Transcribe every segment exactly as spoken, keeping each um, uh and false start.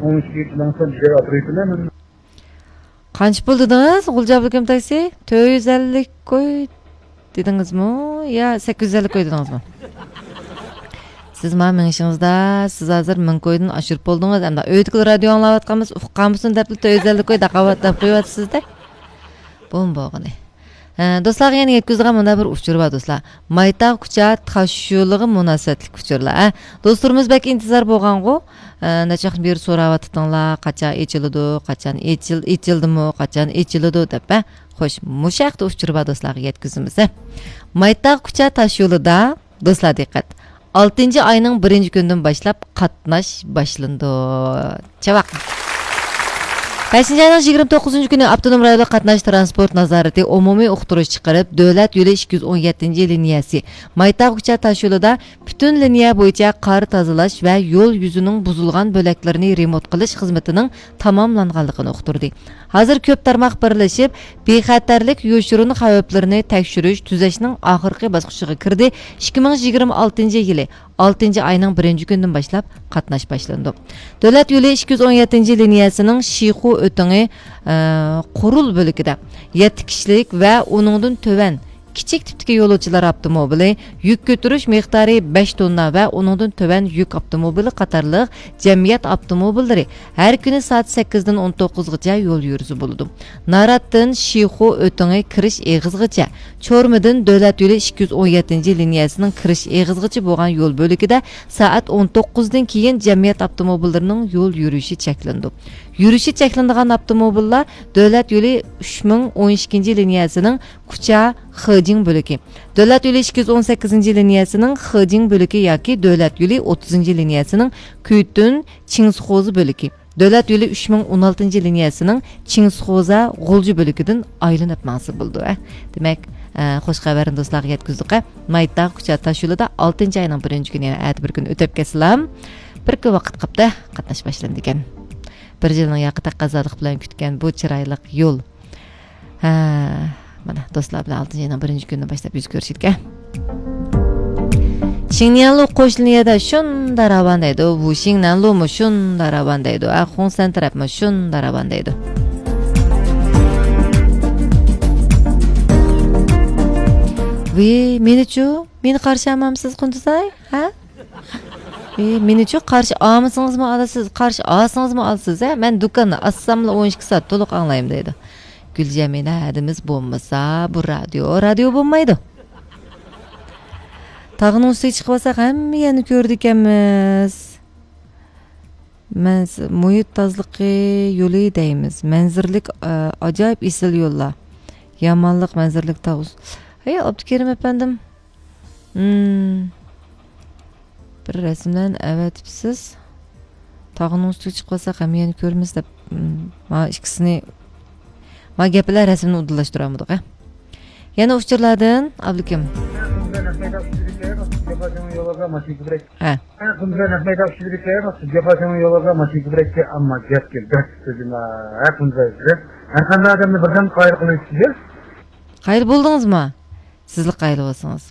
ئون ئىككى لەڭسەن بىر ئاپرېتىلەن. قانچە پۇل دېدىڭىز، غۇلجا ئابلىكىم تاكسى؟ تۆت يۈز ئەللىك كوي دېدىڭىزمۇ يا سەككىز يۈز ئەللىك كوي دېدىڭىزمۇ؟ سىز ماڭا مېڭىشىڭىزدا، سىز ھازىر مىڭ كويدىن ئاشۇرۇپ بولدىڭىز. ئەمدى ئۆيدىكىلا رادىيو ئاڭلاۋاتقانمىز، ئۇققانمىسۇن دەپلا تۆت يۈز ئەللىك كوي دەپ قويۇۋاتىسىز-دە. بۇمۇ بولغىنى. ھە، دوستلارغا يەنە يەتكۈزىدىغان مۇنداق بىر ئۇچۇر بار، دوستلار. مايتاغ كۇچا تاشيولىغا مۇناسىۋەتلىك ئۇچۇرلار. ھە، دوستلىرىمىز بەك ئىنتىزار بولغانغۇ. ھە، نەچچە ۋاقىتتىن بېرى سوراۋاتىتىڭلار، قاچان ئېچىلىدۇ، قاچان ئېچىل-، ئېچىلدىمۇ، قاچان ئېچىلىدۇ دەپ. ھە، خوش، مۇشۇ ھەقتە ئۇچۇر بار، دوستلارغا يەتكۈزىمىز. ھە. مايتاغ كۇچا تاشيولىدا، دوستلار دىققەت! ئالتىنچى ئاينىڭ بىرىنچى كۈنىدىن باشلاپ قاتناش باشلىنىدۇ. چاۋاق! بەشىنچى ئاينىڭ يىگىرمە توققۇزىنچى كۈنى ئاپتونوم رايونلۇق قاتناش تىرانسپورت نازارىتى ئومۇمىي ئۇقتۇرۇش چىقىرىپ، دۆلەت يولى ئىككى يۈز ئون يەتتىنچى لىنىيەسى مايتاغ كۇچا تاشيولىدا پۈتۈن لىنىيە بويىچە قار تازىلاش ۋە يول يۈزىنىڭ بۇزۇلغان بۆلەكلىرىنى رېمونت قىلىش خىزمىتىنىڭ تاماملانغانلىقىنى ئۇقتۇردى. ھازىر كۆپ تارماق بىرلىشىپ، بىخەتەرلىك يوشۇرۇن خەۋپلىرىنى تەكشۈرۈش، تۈزەشنىڭ ئاخىرقى باسقۇچىغا كىردى. ئىككى مىڭ يىگىرمە ئالتىنچى يىلى ئالتىنچى ئاينىڭ بىرىنچى كۈنىدىن باشلاپ قاتناش باشلىنىدۇ. دۆلەت يولى ئىككى يۈز ئون يەتتىنچى لىنىيەسىنىڭ شىخۇ ئۆتىڭى، ئە، قورۇل بۆلىكىدە يەتتە كىشىلىك ۋە ئۇنىڭدىن تۆۋەن كىچىك تىپتىكى يولۇچىلار ئاپتوموبىلى، يۈك كۆتۈرۈش مىقدارى بەش توننا ۋە ئۇنىڭدىن تۆۋەن يۈك ئاپتوموبىلى قاتارلىق جەمئىيەت ئاپتوموبىللىرى ھەر كۈنى سائەت سەككىزدىن ئون توققۇزغىچە يول يۈرۈشى بولىدۇ. ناراتتىن شىخۇ ئۆتىڭى كىرىش ئېغىزىغىچە، چورمىدىن دۆلەت يولى ئىككى يۈز ئون يەتتىنچى لىنىيەسىنىڭ كىرىش ئېغىزىغىچە بولغان يول بۆلىكىدە سائەت ئون توققۇزدىن كېيىن جەمئىيەت ئاپتوموبىللىرىنىڭ يول يۈرۈشى چەكلىنىدۇ. يۈرۈشى چەكلىنىدىغان ئاپتوموبىللار دۆلەت يولى ئۈچ مىڭ ئون ئىككىنچى لىنىيەسىنىڭ كۇچا خېجىڭ بۆلىكى، دۆلەت يولى ئىككى يۈز ئون سەككىزىنچى لىنىيەسىنىڭ خېجىڭ بۆلىكى ياكى دۆلەت يولى ئوتتۇزىنچى لىنىيەسىنىڭ كۈيتۈن چىڭسخوزا بۆلىكى، دۆلەت يولى ئۈچ مىڭ ئون ئالتىنچى لىنىيەسىنىڭ چىڭسخوزا غۇلجا بۆلىكىدىن ئايلىنىپ ماڭسا بولىدۇ، ھە. دېمەك، ئە، خوش خەۋەرنى دوستلارغا يەتكۈزدۇق، ھە. مايتاغ كۇچا تاشيولىدا ئالتىنچى ئاينىڭ بىرىنچى كۈنى، يەنە ئەتە بىر كۈن ئۆتۈپ كەتسىلا، بىر كۈن ۋاقىت قاپتۇ، قاتناش باشلىنىدىكەن. بىر يىلنىڭ ياقى تەقەززالىقى بىلەن كۈتكەن بۇ چىرايلىق يول. ھە، مانا، دوستلار بىلەن ئالتىنچى ئاينىڭ بىرىنچى كۈنىدىن باشلاپ يۈز كۆرۈشىدىكەن. شىڭنيەنلۇ قوشنا يەردە شۇندا راۋان دەيدۇ، ۋۇ شىڭنەنلۇمۇ شۇندا راۋان دەيدۇ، ئە، خۇڭسەن تەرەپمۇ شۇندا راۋان دەيدۇ. ۋى، مېنىچۇ؟ مېنى قارشى ئالمامسىز، قۇندۇزاي؟ ھە؟ ئى، مېنىچۇ قارشى ئالمىسىڭىزمۇ ئالىسىز، قارشى ئالسىڭىزمۇ ئالىسىز، ھە؟ مەن دۇكاننى ئاچساملا ئون ئىككى سائەت تولۇق ئاڭلايمەن دەيدۇ. گۈلجەمىلە، ھەدىمىز بولمىسا، بۇ رادىيو، رادىيو بولمايدۇ. تاغنىڭ ئۈستىگە چىقىۋالساق، ھەممە يەرنى كۆرىدىكەنمىز. مەنز-، مۇھىت تازىلىقى يولى دەيمىز. مەنزىرىلىك، ئە، ئاجايىپ ئېسىل يوللار. يامانلىق مەنزىرىلىك تاغ ئۈس-، ھەي، ئابدۇكېرىم ئەپەندىم. ھىم. بىر رەسىملەرنى ئەۋەتىپسىز. تاغنىڭ ئۈستىگە چىقىۋالساق ھەممە يەرنى كۆرىمىز دەپ، ھىم، مانا ئىككىسىنى، مانا گەپلەر رەسىمنى ئۇدۇللاشتۇرالمىدۇق، ھە. يەنە ئۇچۇرلاردىن، ئابلىكىم. ھە. ھەر قانداق ئادەمنى بىردەم قايىل قىلىش كېرەك. قايىل بولدىڭىزمۇ؟ سىزلا قايىل بولسىڭىز.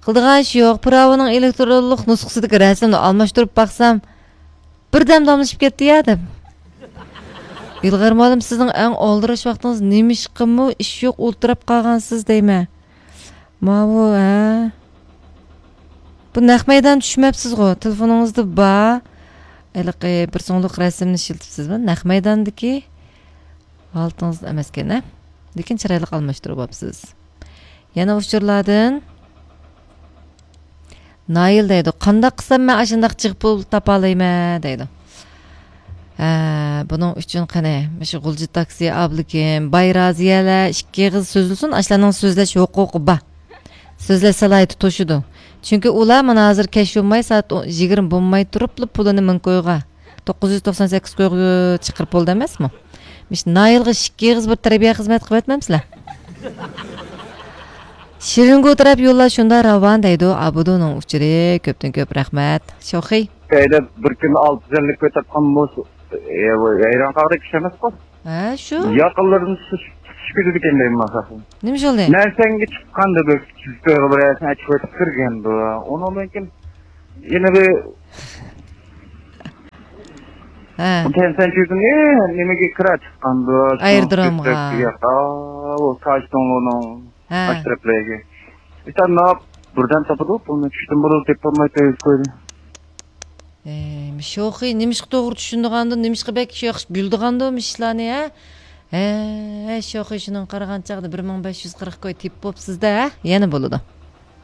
قىلىدىغان ئىش يوق، پىراۋىنىڭ ئېلېكترونلۇق نۇسخىسىدىكى رەسىمنى ئالماشتۇرۇپ باقسام، بىردەم داملىشىپ كەتتى يا دەپ. ئىلغار مۇئەللىم، سىزنىڭ ئەڭ ئالدىراش ۋاقتىڭىز نېمىشقىمۇ ئىش يوق ئولتۇراپ قالغانسىز دەيمەن. ماۋۇ، ھە؟ بۇ نەق مەيدان چۈشمەپسىزغۇ؟ تېلېفونىڭىزدا بار. ھېلىقى بىر سوڭلۇق رەسىمنى ئىشلىتىپسىزمۇ؟ نەق مەيداندىكى ھالىتىڭىز ئەمەسكەن، ھە؟ لېكىن چىرايلىق ئالماشتۇرۇۋاپسىز. يەنە ئۇچۇرلاردىن نايىل دەيدۇ، قانداق قىلسام مەن ئاشۇنداق جىق پۇل تاپالايمەن دەيدۇ. ھە، بۇنىڭ ئۈچۈن قېنى، مۇشۇ غۇلجا تاكسى، ئابلىكىم، باي رازىيەلەر ئىككى ئېغىز سۆزلىسۇن، ئاشۇلارنىڭ سۆزلەش ھوقۇقى بار. سۆزلەش سالاھىيىتى توشىدۇ. چۈنكى ئۇلار مانا ھازىر كەچ بولماي، سائەت ئون، يىگىرمە بولماي تۇرۇپلا پۇلىنى مىڭ كويغا، توققۇز يۈز توقسان سەككىز كويغا چىقىرىپ بولدى ئەمەسمۇ؟ مۇشۇ نايىلغا ئىككى ئېغىز بىر تەربىيە خىزمەت قىلىۋەتمەمسىلەر؟ شېرىنگۇ تەرەپ يوللار شۇنداق راۋان دەيدۇ، ئابىدۇنىڭ ئۇچۇرى، كۆپتىن كۆپ رەھمەت. شوخى. ھەيدەپ بىر كۈندە ئالتە يۈز ئەللىك كۆتەپ قالمىسا، ھەيران قالغۇدەك ئىش ئەمەسقۇ. ھە، شۇ. ياقىنلىرىدىن تۇتۇش، تۇتۇش كېتىدىكەن دەيمەن مەن. نېمە بولدى؟ نەرسەڭگە چىققاندا بىر، بىر، بىر نەرسىنى ئېچىۋېتىپ كىرگەندۇ. ئۇنىڭدىن كېيىن يەنە بىر ھە. تەنسەن چۈشتۈم، نېمىگە كىرا چىققاندۇ؟ ئايرودرومغا. ياق، ئاۋۇ تاشتوڭلۇنىڭ ھە. ئاش تەرەپلەرگە. ئىشتانلاپ بىردەم تاپىدۇ، بۇنى چۈشتۈم بولۇپ دەپ بولماي تەييار قويدى. ئەي، شوخى نېمىشقا توغرا چۈشىنىدىغاندۇ، نېمىشقا بەك شۇ ياخشى بىلىدىغاندۇ مۇشۇ ئىشلارنى، ھە؟ ھە، شوخى شۇنىڭغا قارىغان چاغدا بىر مىڭ بەش يۈز قىرىق كوي تېپىپ بوپسىز-دە، ھە؟ يەنە بولىدۇ.